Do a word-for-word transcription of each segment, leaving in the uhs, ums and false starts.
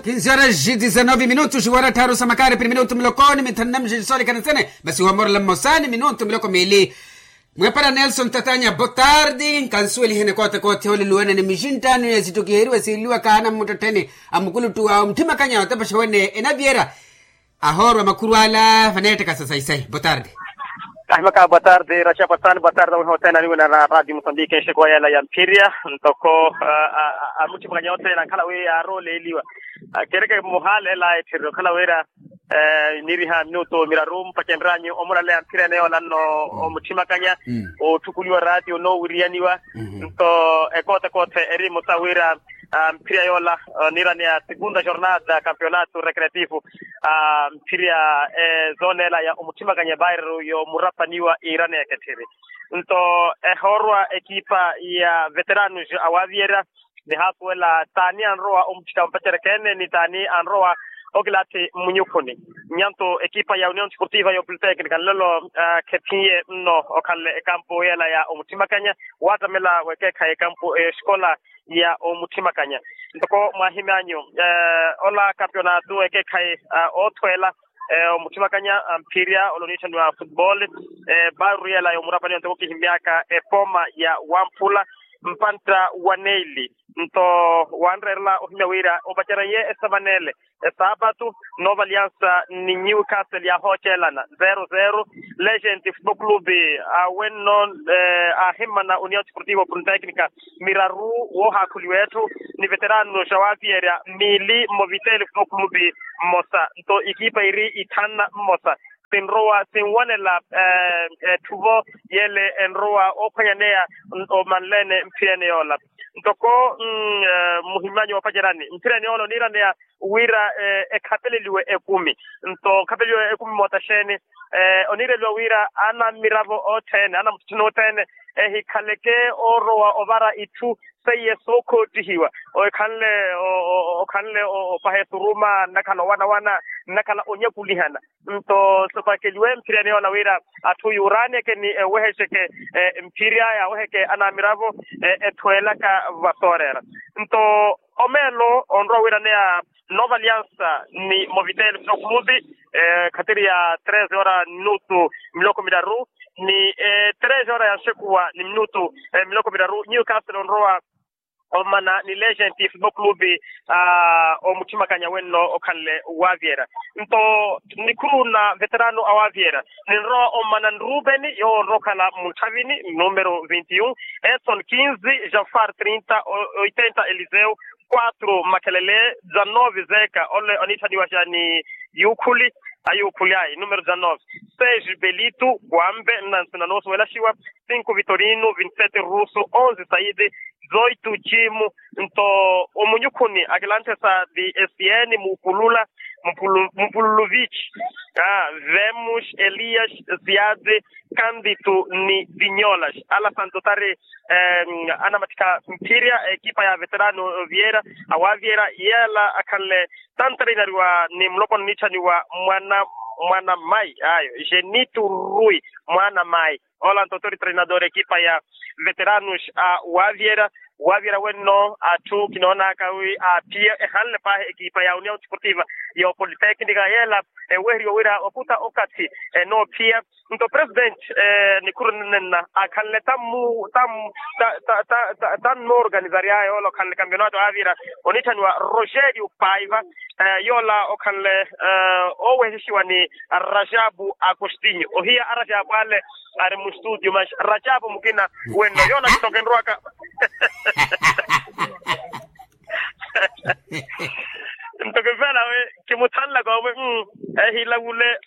Kinzi horas e dizanove minutos wara tharu sa makari piri minutu miloko ni mithanu na mixexe soolikana sene. Masi wamorela mmosa ni minutu miloko miili. Mwepara nelson tatanya botardi nkansuwelihene kote kote oluluwene ni mixinttano ya sittukiheriwe siiliwaka ana mmuttettheni a mukuluttu wa omuthimakanya otepexa wene enaviera. Ahoorwa makhuru ala vaneettekasa saisai botardi. Ahimaka botardi raxapasani botardi awiha othene aniwina na radio musambiki enxekowa yela ya mphirya. Ntoko amutthimwanya othene ankhala wi yaarooleeliwa kereke muhaaleela etthirira okhala wira niriha minutu miraru mpacenryanyu omuraleya mphirya ene yoola nno omutthimwanya. Otthukuliwa ratio noowiriyaniwa nto ekoote koote eri musa wira mphirya yoola niiraneya segunda jornada campeonato recreativo mphirya ezoneela ya omutthimwanya bairro yoomurapaniwa iiraneya ketthiri. Nto ehoorwa ekipa ya veteranos awaaviyerya nihaapuwela t'ani anrowa omutthika mpacerekene ni t'ani anrowa okilaathi mmunyukhuni. Nyanto ekipa ya union sportiva ya opolitecnica nlelo khephiye nno okhanle ekampu yela ya omutthimwanya waattamela wekeekhayi ekampu eyo esikola ya omutthimwanya. Ntoko mwaahimyanyu ola kampeonato ekeekhayi oothweela omutthimwanya mphirya olooniitthaniwa futebol bairro yela yoomurapaniwa ntoko kihimyaka epoma ya wamphula mpantta wa neili. Nto wanreerela ohimya wira opacereye esamanele esaapatu nova aliansa ni newcastle yaahoocelana zero zero. Legend football club awenno aahimmana union sportivo politecnica miraru woohaakhuliwa etthu ni veteranos awaaviyerya miili mmo vitele football club mmosa nto ikipa iri ithanna mmosa sinrowa sinwanela etthuvo yele enrowa oophwanyaneya omanleene mphirene yoola. Ntoko muhimmanyo woopacerani mphirene yoola oniiraneya wira ekhapeleliwe ekumi. Nto okhapeleliwe ekumi moota xeeni oniireliwa wira ana mmiravo othene ana mutthutthuni othene ehikhaleke oorowa ovara itthu seiye sookhottihiwa ekhanle okhanle opaha esuruma nnakhala owanawana nnakhala onyakulihana. Nto sopakeliwe mphirya niyoola wira atthu yuuraaneke ni ewehexeke mphirya yaaweheke anamiravo ethweelaka vasooreera. Nto omeelo onrowa wiiraneya nova aliansa ni movitele football club khatiri ya treze hora minutu miloko miraru ni treze hora ya nxekuwa ni minutu miloko miraru newcastle onrowa omana ni legent football club omutthimwakanya wenno okhanle waavyera. Nto nikhuru na veterano awaavyera ninrowa omana nruveni yoowo onrowa okhala munthavini numero vinti un, edson kinzi, janfar trinta, oitenta eliseu, quatro makhelele, dzanove zeka ole oniitthaniwaxa ni yukhuli ayukhuli ayi numero dzanove, seis belito, kuambe nnansi nanoosuwelaxiwa, cinco vitorino, vinti sete ruso, onze saide, zoitu cimu. Nto omunyukhuni akilanthe sa di esiyeni mupulula, mupululovich, vemos, elias, ziade, kanditu ni dinyolas. Ala santo tari anamatthika mphirya ekipa ya veterano viera awaviera yela akhanle tantreinariwa ni mulopwana oniitthaniwa mwana mwana mai ayo, genitu rui mwana mai. Ola nto tori treinador ekipa ya veteranos a waviera. Waviera wenno atthu kinoonaka wi aaphiya ehanle paahi ekipa ya union sportiva ya opolitecnica yela eweheriwa wira wakuta okathi enoophiya. Nto president nikhuru nenna akhanle tammu tammu tannoorganizaryaya ola okhanle campeonato aavira oniitthaniwa rogerio paiva. Yola okhanle owehexiwa ni rajabu agostinho ohiya arajabu ale ari mustudio mas rajabu mukina wenno yola kitokenrwaka. Nto kivela we kimuthanlaka omwe ehilavule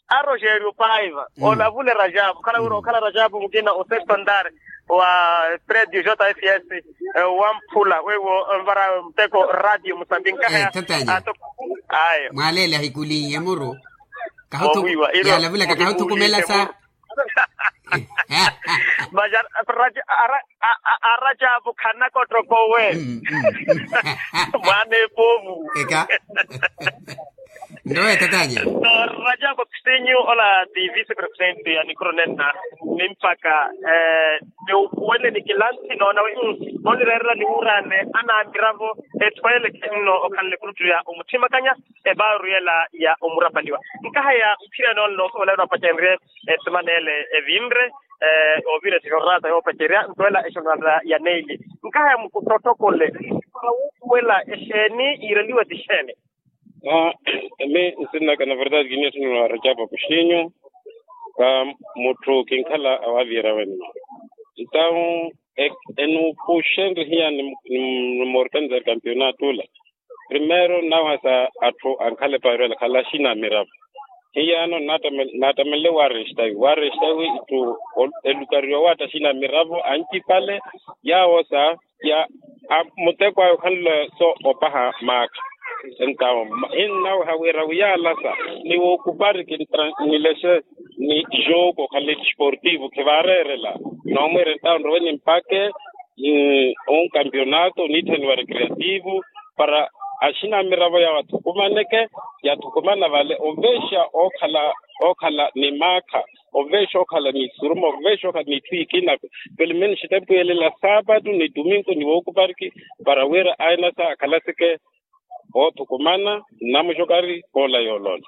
a rogerio paiva olavule rajabu khala wira okhala rajabu mukina o sexto andar wa predio jfs wamphula weiwo nvara muteko radio musambiki nkahaya. Ayo mwaleele ahikuliiye muru kahutukumelasa. Mas arajabu khanakottokowe mwana epovu eka nrowe tatanya. Rajabu Sinyu ola ti vice presidente ya nikhuronenna, nimpaka ni ukhuweleni kilanthi noonawe onlireerela niwuuraane anaamiravo etthu ele khenno okhanle kuruttu ya omuthimakanya. Epaaru yela ya omurapaliwa nkahaya mphirani ole noosowela wira opacenrye esimana ele evinre oovira esiha orata yoopacerya nto ela exonwala ya neili. Nkahaya mukutottokole para wuupuwela exeeni yiireliwa ti xeeni? Aa, mi nsinnaka na verdade kiniya sinnuwa rajapa kuxinyu. Ka mutthu kinkhala awaaviyerya wenno. Entawu enuupuxenrye hiya ni moorkanizari kampionato ula. Primeiro nnawehasa atthu ankhala epaarwela khala axinamiravo. Hiyaano naattamenle waarestawi waarestawi itthu elukariwa waatta axinamiravo ancipale. Yaawo sa ya muteko awe okhanle so opaha maakha. Entawo hinnaweha wira wiyaalasa ni wookupari kinnilexe ni jogo okhanle disportivo khivaareerela. Noomwiira entawo nrowe nimpake onkampionato niitthaniwa recreativo para axinamiravo yawo athukumaneke. Yathukumana vale oveexa okhala okhala ni maakha oveexa okhala ni isuruma oveexa okhala ni itthu ikina. Pelo menos tempu yelela saapatu ni tuminko ni wookupariki para wira ainasa akhalaseke oothukumana nnamuxokari koola yooloola.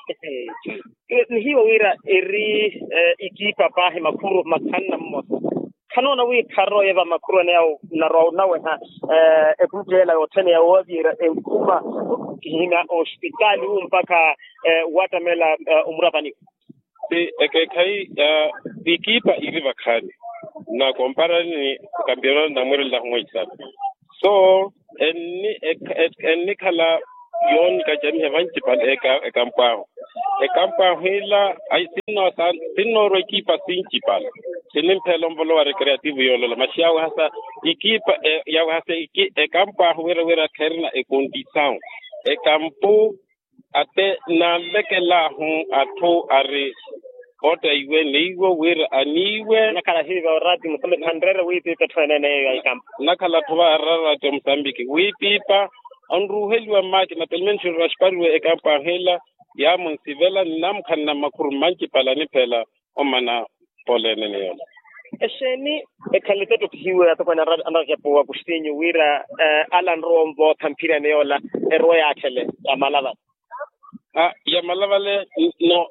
Nihiiwa wira eri ikiipa paahi makhuru mathanu na mmosa. Khanoona wi kharooye va makhuru ene yawo narwa onaweha ekuntteela yothene ya woowaviherya enkhuma kihina ospitaali wu mpakha waattamela omurapaniwa. Ti ekeekhayi ya ikipa iri vakhaani na komparani ni kampionati namwiirelilahu mweisana. So ennikhala yoonikacamiha vancipale ekampu ahu. Ekampu ahu ila sinnoorwa ekipa sincipale. Sinimphela onvolowa recreativo yoolola maxi yawehasa ikipa yawehasa ekampu ahu wira wira kherina ekondisawu ekampu. Ate nanvekelaahu atthu ari otta iwe neiwo wira aniiwe. Nakhala hiiva orati musambe khanreere wiipipa etthu eneene yeeyo ya ikampu. Nakhala atthu vaarara orati omosambiki wiipipa onruuheliwa mmaakina pelo menos nrwaxipariwe ekampu ahila. Yaamunsivela nnaamukhanana makhuru mmancipale aniphela omana. Pole enene yoola. Exeeni ekhanle tottokhihiwe atokweene anraxapu wa kuxinyu wira ala anrowa onvootha mphirani yoola erowa yaatthele ya malavale. Ya malavale no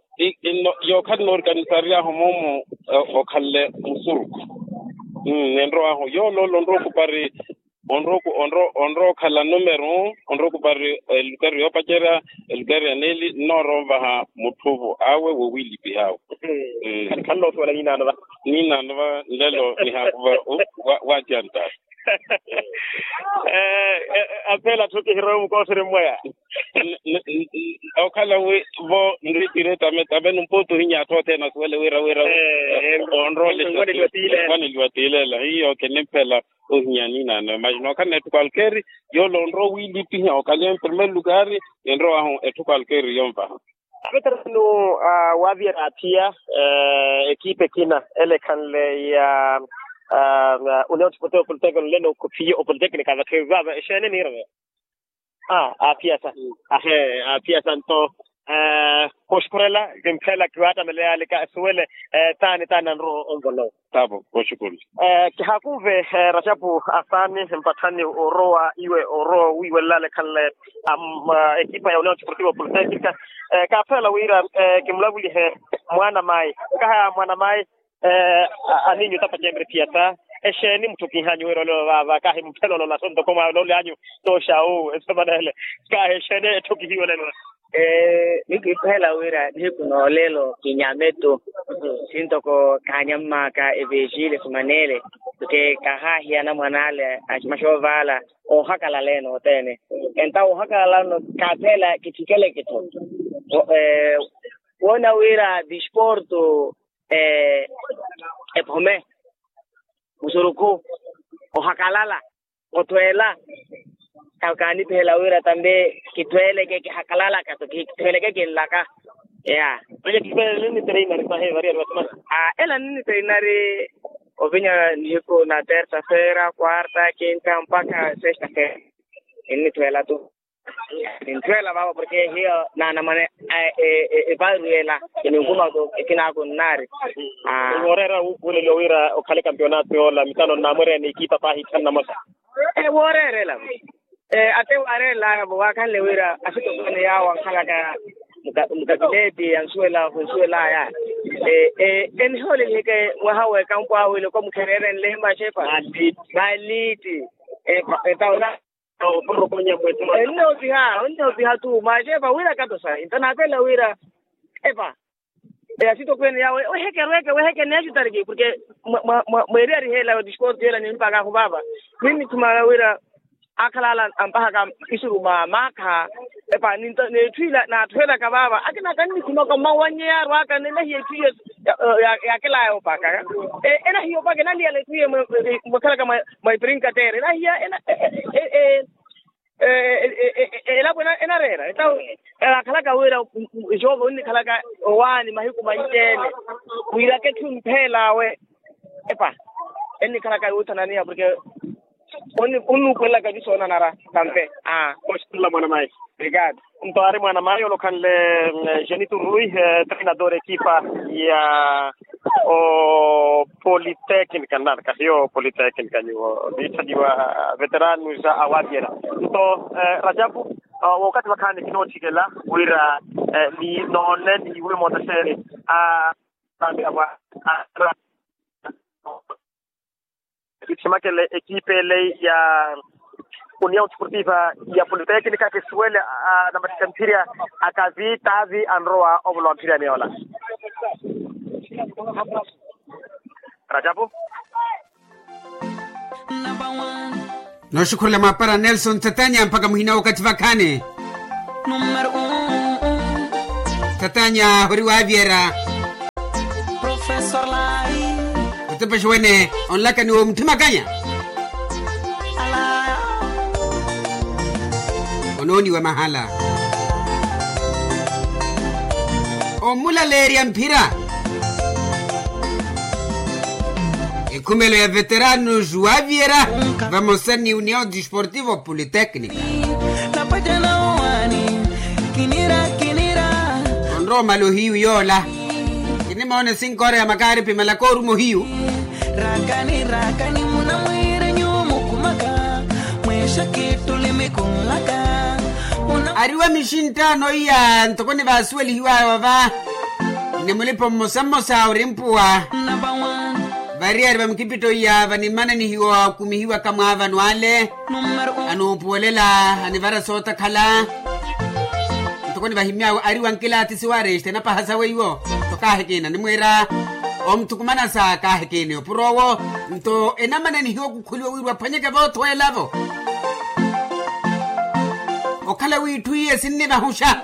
yookhala noorikanisaryahu moomu okhanle musuruku. Enrowaahu yooloola onrowa okupari onrowa okhala numero onrowa okupari elukari yoopacerya elukari ya neeli nnoorowa onvaha mutthuvo awe wowiilipiha awe. Khali khali noosuwela niinaano va niinaano va nlelo nihaakuva. Waatiantari. Apeela atthu kihirowe mukooseri mmweya. Okhala wi vo nriitire tame tame numpuutu ohinya atthu othene asuwele wira wira onroolesa. Nwaneliwa tiilela hiyo kinimphela ohinya niinaano mas nookhala etthu kwalkeeri yoola onrowa wiilipiha okaliya mprimeiro lukari enrowaahu etthu kwalkeeri yonvaha. Apeterano waaviyerya athiya ekipa ekina ele ekhanle ya union sportivo politekinika nleno khuphiye opolitekinika vakhevi vaava exeene niireve. Aa aphiyasa. Ahe aphiyasa nto kooxukhurela kimphela kiwaattameleyalika asuwele taani taani anrowa onvolowa. Taavo kooxukhurela. Kihaakunve raxapu asaani mpatthani orowa iwe orowa wiiwelelale khanle ekipa ya union sportivo politekinika. Kaaphela wira kimulavulihe mwaana mayi. Kaha mwaana mayi. Aniinyu tapacenre phiyasa exeeni mutthukihanyu wira olelo vaava kahi mphela olola so ntoko mwawe ololyanyu tooxawu esemana ele. Kahi exeeni etthu kihiwelelo. Nikiphela wira nihiku noolelo kinyame tu. Sintoko kaanyammaka evejile simanele ke kahaahiya anamwan'ale aximaxa ovaala. Oohakalala ene othene entawo oohakalala no kaaphela kithikeleke-tho. Woona wira disporto ephome musurukhu ohakalala othweela. Kaanipihela wira tambe kithweeleke kihakalalaka-tho kithweeleke kinlaka. Ya ela ninitreinar ovinya nihiku na tersa fera quarta quinta mpakha sesta fera. Ninithweela-tho. Nintthweela vaavo porke hiyo naanamwane. Eparu yeela kininkuma. Kinaako nnaari. Wooreera wuupuweleliwa wira okhale kampionato yoola mitano nnamwereya ni ekipa paahi itthanu namosa. Wooreerela. Ate waareerelaya-vo waakhanle wira asitokweene yaawo ankhalaka mukapiteti ansuwela khunsuwelaya. Enihooleliheke mwaha w'ekampo awo iloko mukhereerenle machepa. Maliti. Ennoopiha ennoopiha tu machepa wira kato sahi nto naapelela wira epa. Asitokweene yawo wehekerweke weheke neexitariki porke mweeriyari heela disporti yeela nimpaka ahu vaava. Ninnithumaka wira akhala ala ampahaka isuru mwa maakha. Epa ninto neetthu ila naatthuwelaka vaava akina kannikhumaka mmawanyi yaarwaka nenahiya etthu iyo. Yaakelaya opakaka enahiya opaka enaliyala etthu iyo mwakhalaka mwa iprinkateera enahiya. Elapo enareera etawo. Akhalaka wira joova onnikhalaka owaani mahiku manci-ene. Wiraka etthu mpheel'awe epa ennikhalaka yuuthananiha porke onnuupuwelelaka eti soonanara. Tampe. Aa. Oxitula mwanamayi. Obrigado. Nto aari mwanamayi olokhanle jenitu rui treinador ekipa ya opoliteknika nnarka hiyo opoliteknika nyuwo niitthaniwa veteranu ja awatyela. Nto rajapu wookathi vakhaani kinootthikela wira ni noone ni iwe mootaxeeni a kithimakele ekipa ele ya union sportiva ya politeknika kisuwele anamatthittha mphirya akavi taavi anrowa ovolwa mphirya aniyoola. Rajapu. Nooxukhurela mwaapara nelson tatanya mpakha muhina wookathi vakhaani. Tatanya ori waavyera. Otepexe wene onlakani woomutthimakanya. Onooniwa mahala omulaleerya mphira. Ekhumelo ya veterano juwaviera vamosa ni union disportivo politeknika. Onrowa omala ohiyu yoola. Kinimoona esinkoora ya makaari pimala kooruma ohiyu. Raakani raakani munamwiire nyuwo mukhumaka mweexa kittuli mikhunlaka. Ariwa mixinttaano iya ntoko nivaasuwelihiwaya wava ni mulipa mmosa mmosa orimpuwa. Variyari va mukipitto iya vanimmananihiwa okumihiwaka mwaavano ale. Anuupuwelela anivara sootakhala. Ntoko nivahimy'awe ari wa nkilaatisi wa rexta enapaha sawe iwo. Nto kaahikiina nimwiira omuthukumana sa kaahikiini opuro owo. Nto enamananihiwa okukhuliwa wira waphwanyeke voothweela-vo. Okhala w'itthu iye sinnivahuxa.